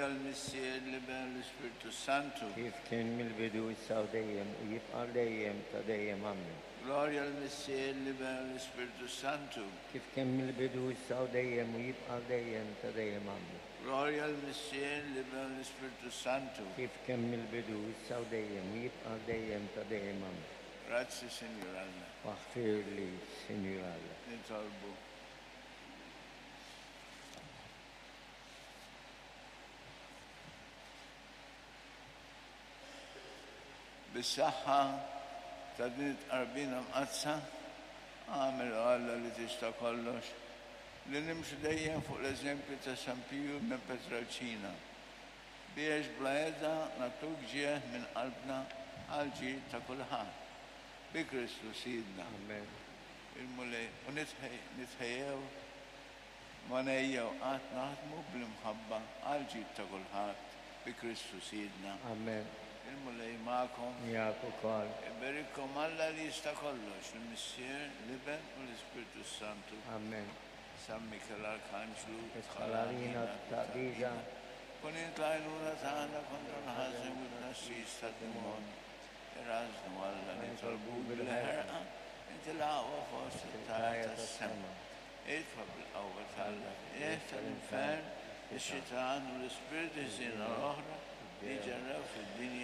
Glorja l-Missier, l-Iben u l-Ispirtu Santu. Kif kien mill-bidu, issa u dejjem, u jibqa' għal dejjem ta' dejjem. Ammen. Glorja l-Missier, l-Iben u l-Ispirtu Santu. Kif kien mill-bidu, issa u dejjem, u jibqa' għal dejjem ta' dejjem. Ammen. Glorja l-Missier, l-Iben u l-Ispirtu Santu. Kif kien mill-bidu, issa u dejjem, u jibqa' għal dejjem ta' dejjem. Ammen. Grazzi, Sinjur Alla. Aħfirli, Sinjur Alla. Nitolbu. Bis-saħħa ta' din it-tqarbina mqaddsa, agħmel, O Alla li tista' kollox, li nimxu dejjem fuq l-eżempju ta' San Piju minn Petralċina, biex bla heda nagħtuk ġieħ minn qalbna għall-ġid ta' kulħadd. Bi Kristu Sidna. Amen. Il-Mulej, u nitħejjew Ma ngħejjew qatt naħdmu bl-imħabba għall-ġid ta' kulħadd, bi Kristu Sidna. Amen. Il-Mulej magħkom. Miegħek ukoll. Iberikkom Alla li jista' kollox, il-Missier, l-Iben u l-Ispirtu s-Santu. Amen. San Mikiel Arkanġlu, Idħol għalina fit-taqbida. Kun int l-għajnuna tagħna kontra l-ħażen u t-tnassis tad-demonju. Irażżnu Alla nitolbuk bil-ħerqa, inti l-aqwa fost it-tajr tas-sema. Itfa' bil-qawwa t'Alla fil-qiegħ tal-infern ix-xitan u l-ispirti ħżiena l-oħra li jġerrew fid-dinja.